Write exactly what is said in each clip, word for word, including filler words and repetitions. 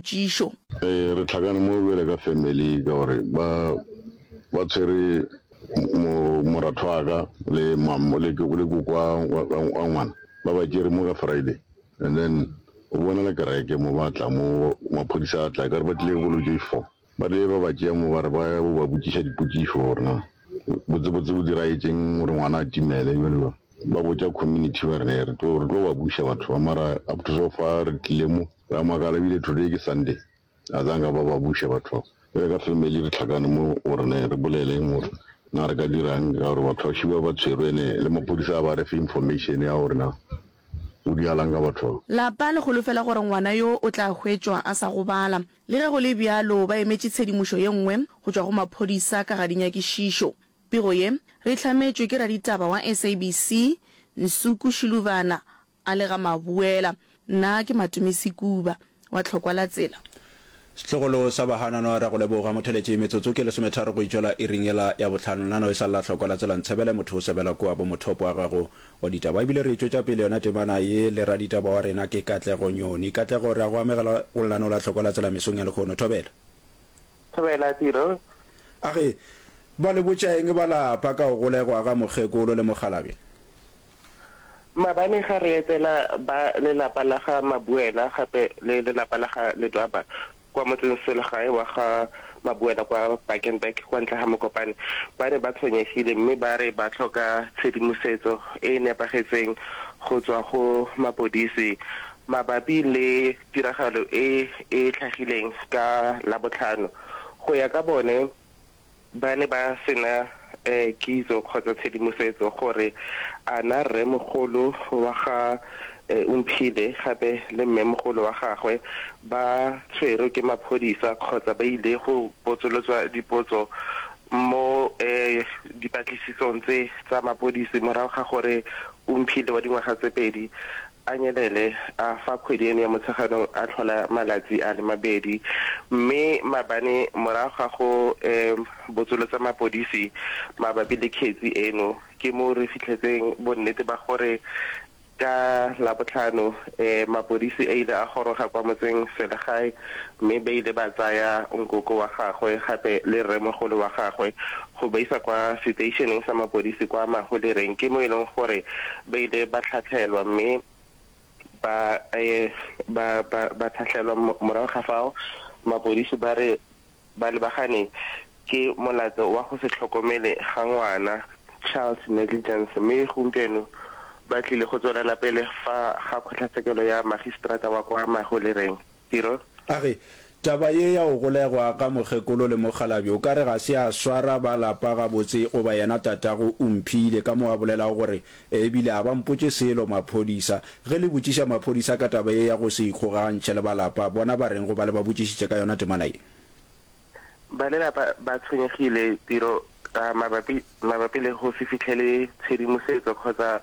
dipotšišo. Ee, re hlakane mo bjale ka family ka gore ba ba tshwere mo moratho wa ka le mam le le koko wa wa ngwana ba ba tšere mo ka Friday and then o bonala kereke mo ba tla mo maphodisa a tla ka re ba tlile bolo tše four ba tle ba ba tšea mo ba re ba ya ba botšiša dipotšišo gore na botsebotse bo diragetšeng gore ngwana a timele jalo jalo ba botša community ba re ne re tlo re tlo ba buša batho ba mara up to so far re tlile mo ra makala ebile today ke Sunday a zanka ba ba buša batho ba bjale ka family re hlakane mo gore ne re boleleng gore na re ka dirang ka gore batho ba šiba ba tshwerwe ene le maphodisa a ba re fe information ya gore na o dialang ka batho ba. Lapa le holofela gore ngwana yo o tla hwetšwa a sa gobala. Le ge go le bjalo, ba emetše tshedimošo ye nngwe go tšwa go maphodisa ka ga dinyakišišo. Pego ye re e hlametšwe ke raditaba wa S A B C Nsuku Shiluvana a le ga Mabuela. Nna ke Matome Sekuba wa Tlhokwa la Tsela. Setlogolo sa Bahananwa ra go leboga motheletši metsotso ke lesometharo go itšwela iring yela ya bohlano lenaneo e sa le la hlokwa la tsela ntshebele motho o sebela kua bo mothopo wa gago wa ditaba ebile re e tšwetša pele yona temana ye le raditaba wa rena ke Katlego Nyoni Katlego re a go amogela go lenaneo la hlokwa la tsela mesong ya lehono thobela. Thobela Tiro. A ge ba le botša eng ba lapa ka go golegwa ga mokgekolo le mokgalabje? Maabane ga re etela ba lelapa la ga Mabuela gape le lelapa la ga Ledwaba kwa motseng-selegae wa ga Mabuela kwa Bakenberg kwa ntle ga Mokopane, ba ne ba tshwenyegile mme ba re ba tlhoka tshedimosetso e e nepagetseng go tswa go mapodisi mabapi le tiragalo e e tlhagileng ka Labotlhano. Go ya ka bone, ba ne ba sena kitso kgotsa tshedimosetso gore a na rremogolo wa ga Omphile gape le mmemogolo wa gagwe ba tshwerwe ke maphodisa kgotsa ba ile go botsolotswa dipotso mo dipatlisisong tse tsa mapodisi morago ga gore Omphile wa dingwaga tse pedi a nyelele a fa kgwedi eno ya Motsheganong a tlhola malatsi a le mabedi mme maabane morago ga go botsolotsa mapodisi mabapi le kgetsi eno ke mo re fitlhetseng bonnete ba gore ka Labotlhano mapodisi a ile a goroga kwa motseng selegae mme ba ile ba tsaya nkoko wa gagwe gape le rremogolo wa gagwe go ba isa kwa seteišeneng sa mapodisi kwa Maholereng ke mo e leng gore ba ile ba tlhatlhelwa mme ba ba ba ba tlhatlhelwa morago ga fao mapodisi ba re ba lebagane ke molato wa go se tlhokomele ga ngwana, child negligence, mme gompieno ba tlile go tswelela pele fa ga kgotlatshekelo ya magistrata wa kwa Maholereng. Tiro. A re, Taba ye ya go golegwa ga mokgekolo le mokgalabje o ka re ga se ya swara ba lapa gabotse goba yena tatago Omphile ka mo a bolelago gore e bile a ba mpotše selo maphodisa. Ge le botšiša maphodisa ka taba ye ya go se ikgogantšhe le ba lapa, bona ba reng goba le ba botšišitše ka yona temana ye? Ba lelapa ba tshwenyegile tiro ka mabapi mabapi le go se fitlhele tshedimosetso kgotsa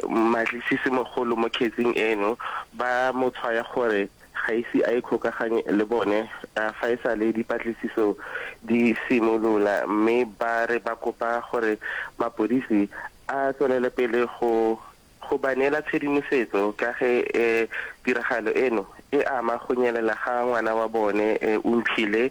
mmatlisisi-mogolo mo kgetsing eno, ba mo tshwaya gore ga ise a ikgokaganye le bone fa e sale dipatlisiso di simolola mme ba re ba kopa gore mapodisi a tswelele pele go Go ba neela tshedimosetso ka ge tiragalo eno e ama go nyelela ga ngwana wa bone Omphile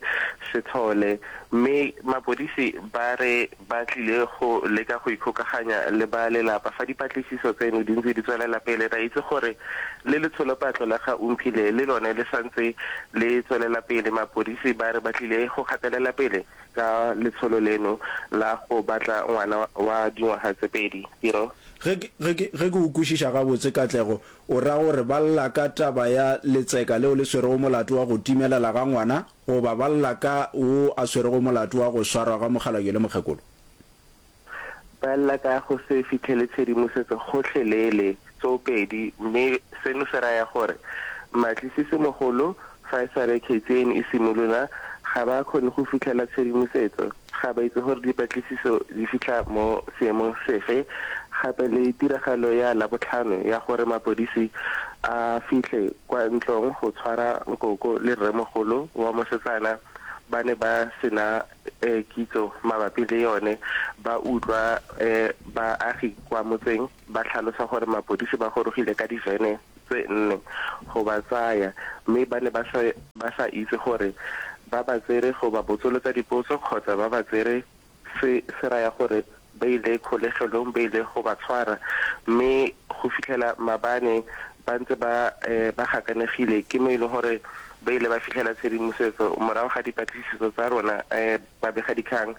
Sethole mme mapodisi ba re ba tlile go leka go ikgokaganya le ba lelapa fa dipatlisiso tseno di ntse di tswelela pele. Re a itse gore le letsholopatlo la ga Omphile le lone le santse le tswelela pele. Mapodisi ba re ba tlile go gatelela pele ka letsholo leno la go batla ngwana wa dingwaga tse pedi. Tiro. Ge ke, ge ke, ge ke o kwešiša gabotse, Katlego, o ra gore ba lla ka taba ya letseka leo le swerego molato wa go timelela ga ngwana, goba ba lla ka wo a swerego molato wa go swarwa ga mokgalabje le mokgekolo? Ba lla ka go se fihlele tshedimosetso gohlelele, tsoopedi, mme seno se raya gore mmatlisisi-mogolo fa e sale kgetsi eno e simolola ga ba kgone go fitlhela tshedimosetso, ga ba itse gore dipatlisiso di fitlha mo seemong sefe, gape le tiragalo ya Labotlhano ya gore mapodisi a fitlhe kwa ntlong go tshwara nkoko le rremogolo wa mosetsana ba ne ba sena kitso mabapi le yone, ba utlwa baagi kwa motseng ba tlhalosa gore mapodisi ba gorogile ka divene. tse nne go ba tsaya mme ba ne ba sa ba sa itse gore ba ba tsere go ba botsolotsa dipotso kgotsa ba ba tsere se se raya gore ba ile kgolegelong ba ile go ba tshwara mme go fitlhela maabane ba ntse ba ba gakanegile ke mo e leng gore ba ile ba fitlhela tshedimosetso morago ga dipatlisiso tsa rona babegadikgang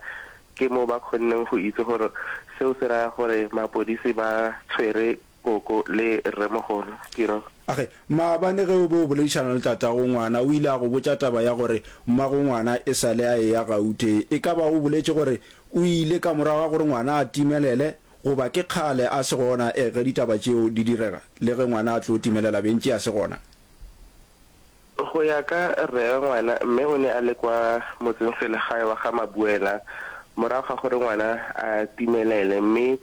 ke mo ba kgonneng go itse gore seo se raya gore mapodisi ba tshwere koko le rremogolo. Tiro. Age, maabane ge o be o boledišana le tatago ngwana, o ile a go botša taba ya gore mmago ngwana e sa le a eya Gauteng. E ka ba o boletše gore o ile ka morago ga gore ngwana a timelele, goba ke kgale a se gona e ge ditaba tšeo di direga, le ge ngwana a tlo timelela bentše a se gona? Go ya ka rre ngwana, mme o ne a le kwa motseng-selegae wa ga Mabuela morago ga gore ngwana a timelele mme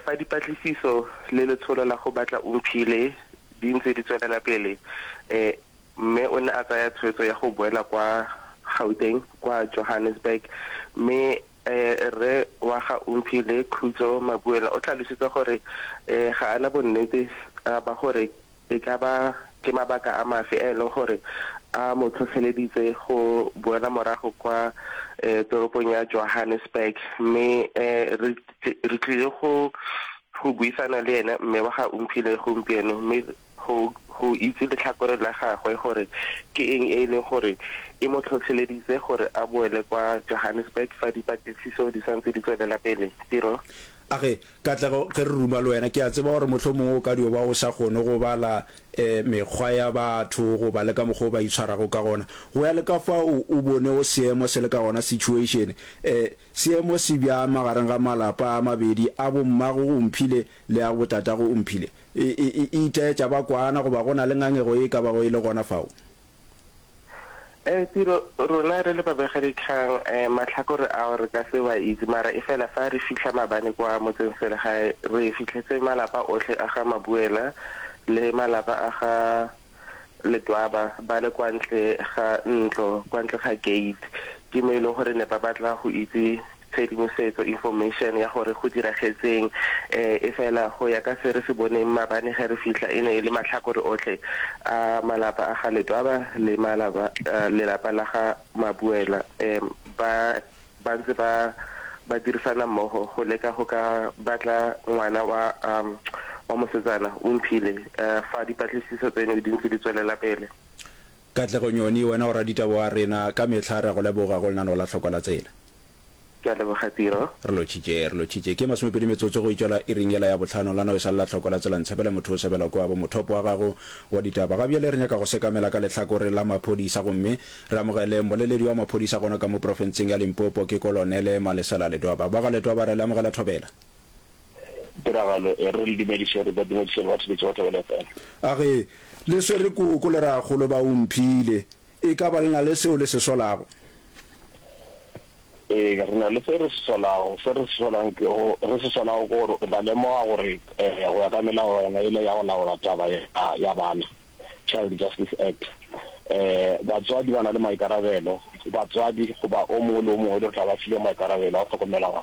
fa dipatlisiso le letsholo la go batla Omphile di ntse di tswelela pele, mme o ne a tsaya tshwetso ya go boela kwa Gauteng kwa Johannesburg mme rre wa ga Omphile, Khutso Mabuela o tlhalositse gore ga a na bonnete ba gore e ka ba ke mabaka a mafe a e leng gore a mo tlhotlheleditse go boela morago kwa toropong ya Johannesburg mme re re tlile go go buisana le ene mme wa ga Omphile gompieno mme go go itse letlhakore la gagwe gore ke eng e e leng gore e mo tlhotlheleditse gore a boele kwa Johannesburg fa dipatlisiso di santse di tswelela pele. Tiro. A re, Katlego, ge re ruma le wena, ke a tseba gore mohlomongwe o ka dio ba o sa kgone go bala mekgwa ya batho goba le ka mokgwa o ba itshwarago ka gona. Go ya le ka fao o bonego seemo se le ka gona, situation, seemo se bjang magareng ga malapa a mabedi, a bommago Omphile le a botatago Omphile? E, e, e itaetša ba kwana goba go na le ngangego ye e ka bago e le gona fao? Eh, Tiro, rona re le babegadikgang, eh, mahlakore ao re ka se wa itse, mara efela fa re fihla maabane kwa motseng-selegae, re fihletse malapa ohle a ga Mabuela le malapa a ga Ledwaba ba le kwa ntle ga ntlo, kwa ntle ga gate. Ke mo e leng gore ne ba batla go itse tshedimosetso, information, ya gore go diragetseng. Efela go ya ka se re se boneng maabane ge re fihla, e ne e le mahlakore ohle a malapa a ga Ledwaba le malapa, lelapa la ga Mabuela ba ba ntse ba ba dirisana mmogo go leka go ka batla ngwana wa wa mosetsana, Omphile, fa dipatlisiso tseno di ntse di tswelela pele. Katlego Nyoni, wena o raditaba wa rena, ka mehla re a go leboga go lenaneo la Tlhoko la Tsela. Ke a leboga Tiro. Re lotšhitše, re lotšhitše. Ke masomepedi metsotso go itšwela iring yela ya bohlano, la no e sa le la Tlhoko la Tsela. Ntshepele motho o sebela kwa bo mothopo wa gago wa ditaba. Ga bjale re nyaka go sekamela ka lehlakore la maphodisa gomme re amogele mmoleledi wa maphodisa gona ka mo profenseng ya Limpopo, ke Kolonele Malesela Ledwaba. Ba ga Ledwaba re le amogela thobela. Tiragalo e re le dumediše, re ba dumediše le batheeletši ba Thobela F M. A re, Le swere koko le rakgolo ba Omphile, e ka ba le na le seo le se solago? Ee, re na le se re se solago. Se re se solang ke go, re se solago ke gore o tla lemoga gore go ya ka melawana yela ya go laola taba ya, ya bana, Child Justice Act, batswadi ba na le maikarabelo, batswadi goba o mongwe le o mongwe le tla ba filwe maikarabelo a go hlokomela,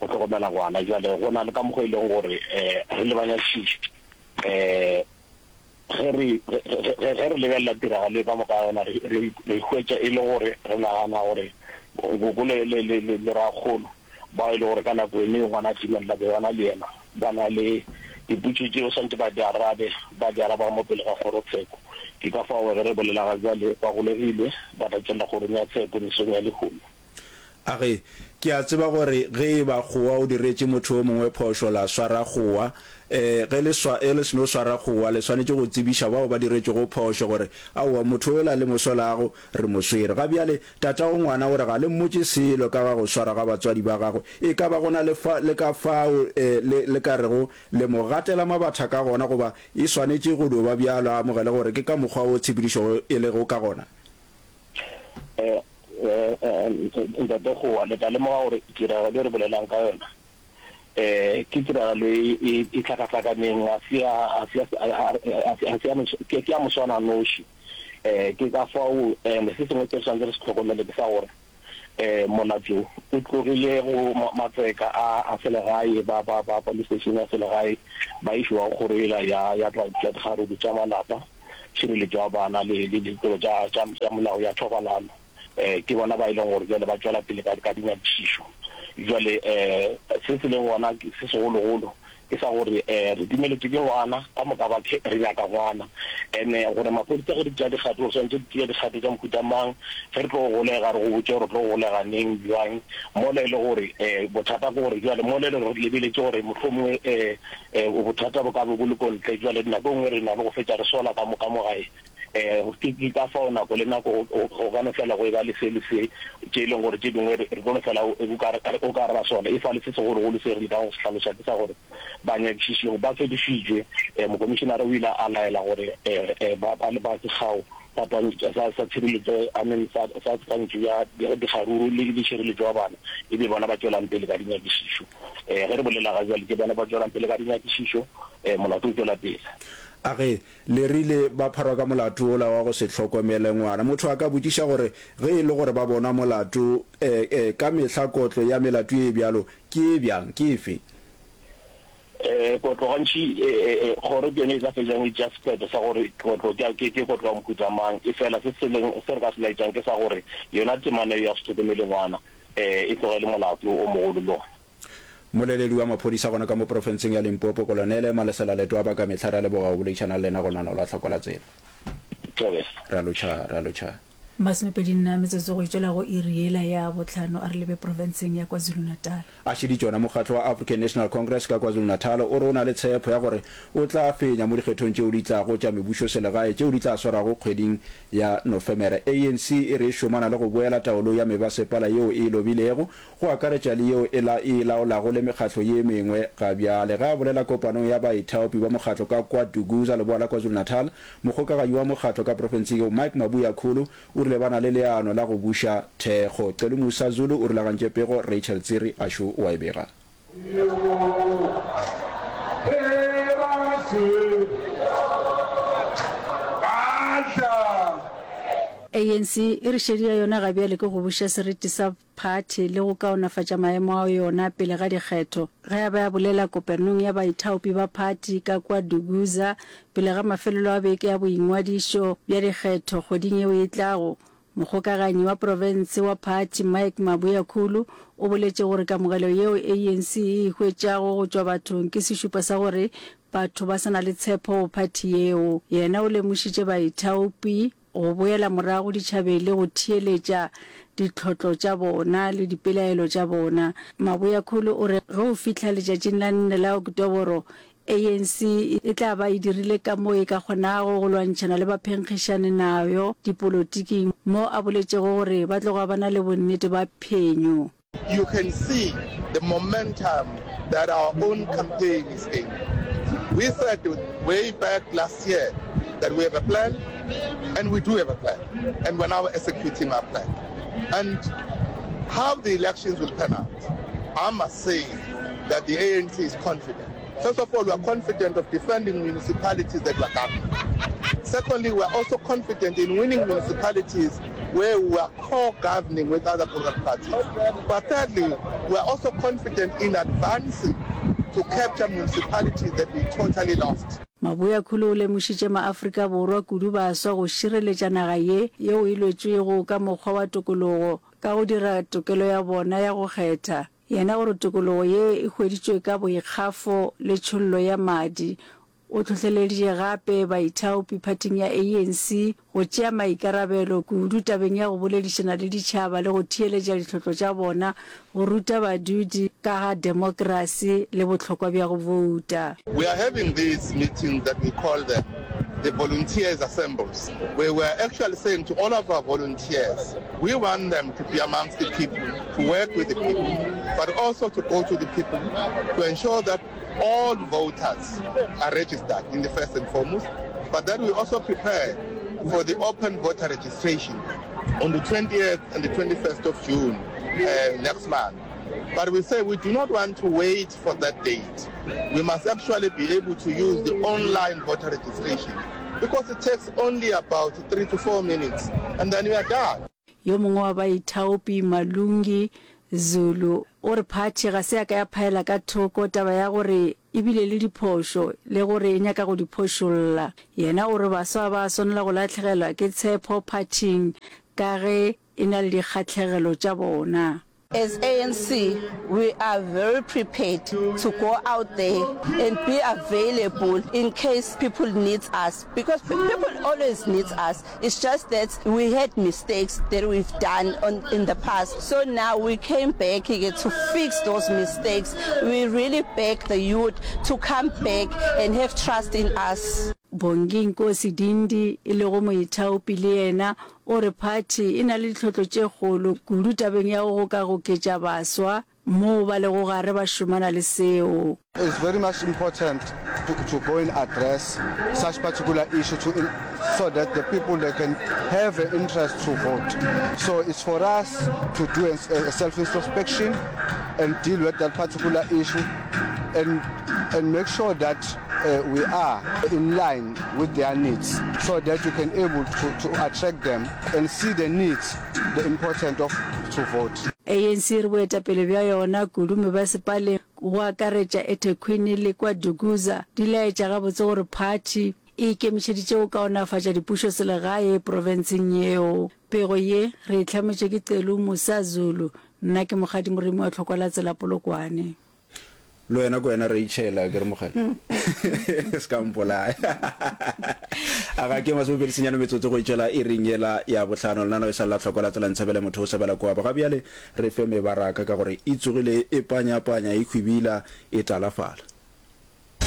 go hlokomela ngwana. Bjale go na le ka mokgwa e leng gore re lebanya tšhiši Ge re, ge, ge, ge re lebelela tiragalo ye ka moka ga yona, re, re, re hwetša e le gore re nagana gore koko le, le, le, le, le rakgolo, bao e le gore ka nako eno ngwana a timelela be ba na le yena, ba na le dipotšišo tšeo swanetše ba di arabe, ba di araba mo pele ga kgorotsheko. Ke ka fao ge re bolela ga bjale ba golegilwe, ba tla tšwelela kgorong ya tsheko mesong ya lehono. A re, Ke a tseba gore ge e ba kgowa o diretše motho yo mongwe phošo, la swara kgowa. E, ge le swa, ge le seno swara kgowa, le swanetše go tsebiša bao ba diretšwego phošo gore, Aowa, motho yola le mo solago, re mo swere. Ga bjale, tatago ngwana o re ga le mmotše selo ka ga go swarwa ga batswadi ba gagwe. E ka ba go na le fa, le ka fao e, le, le ka rego le mo gatela mabatha ka gona, goba e swanetše go dio ba bjalo, a amogele gore ke ka mokgwa wo tshepedišo e lego ka gona? E, Ntate Kgowa, le tla lemoga gore tiragalo e re bolelang ka yona um ke tiragalo e e e hlakahlakaneng, ga se ya ga se ya ga se ya ke ya moswananoši. Um ke ka fao and se sengwe se re swanetše re se hlokomele ke sa gore Molato o tlogile go matseka a a selegae, ba ba ba police station ya selegae ba išiwa go kgoro yela ya ya tša dikgaruru tša malapa, tšhireletšo ya bana le le ditiro tša tša tša molao ya thobalano. Ke bona ba e leng gore bjale ba tšwela pele ka ka dinyakišišo. Bjale se se leng gona se segologolo ke sa gore re dumeletšwe ke ngwana, ka moka ba re nyaka ngwana. Ene gore maphodisa ge di tšea dikgato, re swanetše di tšea dikgato tša mohuta mang, ge re tlo go golega re go botše gore re tlo go golega neng, bjang, mola e le gore bothata ke gore bjale mola e le gore re lebeletše gore mohlomongwe bothata bo ka be bo le ko ntle, bjale nako e nngwe re na le go fetša re sola ka mo ka mo gae. Ke ke ka fao nako le nako go ka no fela go eba le se le se, tše e leng gore tše dingwe re tlo no fela o ka re o ka re ra sola. Efale se segologolo se re lekago go se hlaloša ke sa gore banyakišiši ba fedišitšwe. Mokomišenare o ile a laela gore ba ba ba sekgao sa twantšo sa sa tshireletšo I mean sa sa twantšo ya dikgaruru le le tšhireletšo ya bana e be bona ba tšwelang pele ka dinyakišišo. Ge re bolela ga bjale ke bona ba tšwelang pele ka dinyakišišo, molato o tšwela pele. A ge le rile ba pharwa ka molato wola wa go se hlokomele ngwana? Motho a ka botšiša gore, Ge e le gore ba bonwa molato, e, e, ka mehla kotlo ya melato ye bjalo ke e bjang? Ke efe? E, kotlo gantši, e, e, e, kgoro ke yone e tla fetšang e tšea sephetho sa gore kotlo ke, ke, ke kotlo ya mohuta mang. Efela se se leng, se re ka se laetšang ke sa gore yona temana yeo ya go se hlokomele ngwana, e, e tloga e le molato o mogolo le gona. Mmoleledi wa maphodisa gona ka mo profenseng ya Limpopo, Kolonele Malesela Letwaba, ka mehla re a leboga go boledišana le lena go lenaneo la Tlhoko la Tsela. Thobela. Re a lotšha, re a lotšha. Masomepedi nne a metsotso go itšwela go iri yela ya bohlano a re lebe profenseng ya KwaZulu-Natal. A šeditše ona mokgatlo wa African National Congress ka KwaZulu-Natal o re o na le tshepo ya gore o tla fenya mo dikgethong tšeo di tlago tša mebušoselegae tšeo di tla swarwago kgweding ya Nofemere. A N C e re e šomana le go boela taolong ya mebasepala yeo e e lobilego go akaretša le yeo e la e laolago le mekgatlo ye mengwe ga bjale. Ge a bolela kopanong ya baithaopi ba mokgatlo ka kwa Duguza, leboa la KwaZulu-Natal, mokgokaganyi wa mokgatlo ka profenseng yeo, Mike Mabuya Khulu, o rile ba na le leano la go buša thekgo. Celumusa Zulu o rulagantše pego, Rachel Tsiri Ashu o a e bega. A N C e re šedi ya yona ga bjale ke go buša seriti sa phathi le go kaonafatša maemo a yona pele ga dikgetho. Ge a be a bolela kopanong ya baithaopi ba phathi ka kua Duguza pele ga mafelelo a beke ya boingwadišo bja dikgetho kgweding yeo e tlago, mokgokaganyi wa profense wa phathi Mike Mabuyakhulu o boletše gore kamogelo yeo A N C e e hwetšago go tšwa bathong ke sešupo sa gore batho ba sa na le tshepo go phathi yeo. Yena o lemošitše baithaopi go boela morago ditšhabeng le go theeletša ditlhotlo tša bona le dipelaelo tša bona. Mabuyakhulu o re ge o fihla letšatšing la nne la Oktoboro, A N C e tla ba e dirile ka moo e ka kgonago go lwantšhana le baphenkgišani nayo dipolotiking, mo a boletšego gore ba tloga ba na le bonnete ba phenyo. You can see the momentum that our own campaign is gaining. We said way back last year that we have a plan, and we do have a plan, and we're now executing our plan. And how the elections will pan out, I must say that the A N C is confident. First of all, we are confident of defending municipalities that we are governing. Secondly, we are also confident in winning municipalities where we are co-governing with other political parties. But thirdly, we are also confident in advancing to capture municipalities that we totally lost. Mabuyakhulu o lemošitše maAfrika Borwa kudu baswa go šireletša naga ye yeo e lwetšwego ka mokgwa wa tokologo ka go dira tokelo ya bona ya go kgetha. Yena gore tokologo ye e hweditšwe ka boikgafo le tšhollo ya madi. O hlohleleditše gape baithaopi phathing ya A N C go tšea maikarabelo kudu tabeng ya go boledišana le ditšhaba le go theeletša ditlhotlo tša bona, go ruta badudi ka ga demokrasi le bohlokwa bja go bouta. We are having these meetings that we call them the volunteers assembles, where we are actually saying to all of our volunteers, we want them to be amongst the people, to work with the people, but also to go to the people to ensure that all voters are registered in the first and foremost, but that we also prepare for the open voter registration on the twentieth and the twenty-first of June, uh, next month. But we say we do not want to wait for that date. We must actually be able to use the online voter registration because it takes only about three to four minutes and then we are done. Yo mongwe wa baithaopi, Malungi Zulu, o re phathi ga se ya ka ya phaela ka thoko taba ya gore e bile le diphošo le gore e nyaka go di phošolla. Yena o re baswa ga ba a swanela go lahlegelwa ke tshepo phathing ka ge e na le dikgahlegelo tša bona. As A N C we are very prepared to go out there and be available in case people needs us because people always needs us it's just that we had mistakes that we've done on in the past so now we came back to fix those mistakes we really beg the youth to come back and have trust in us. Bongi Nkosi Dindi e lego moithaopi le yena o re phathi e na le ditlhotlo tše kgolo kudu tabeng ya go gokagoketša baswa moo ba lego gare ba šomana le seo. It's very much important to, to go and address such particular issue to in, so that the people they can have an interest to vote. So it's for us to do a, a self-introspection and deal with that particular issue and, and make sure that uh, we are in line with their needs so that you can able to, to attract them and see the needs, the importance of to vote. A N C e re boetapele bja yona kudu mebasepaleng go akaretša eThekwini le kwa Dukuza di laetša gabotse gore phathi e ikemišeditše go kaonafatša dipušoselegae profenseng yeo. Pego ye re e hlametšwe ke Celu Musa Zulu, nna ke Mokgadi Moremi wa Tlhokwa la Tsela Polokwane. Le wena ko wena Rachel a ke re mogale se ka mpolaya a ga ke masomepedi senyane metsotso go itšwela iring yela ya bohlano lenaneo e sa lla tlhoko la tsela ntshebele motho o sebela kwa ga bjale re fe mebaraka ka gore e tsogile e panyapanya e hwibila e talafala.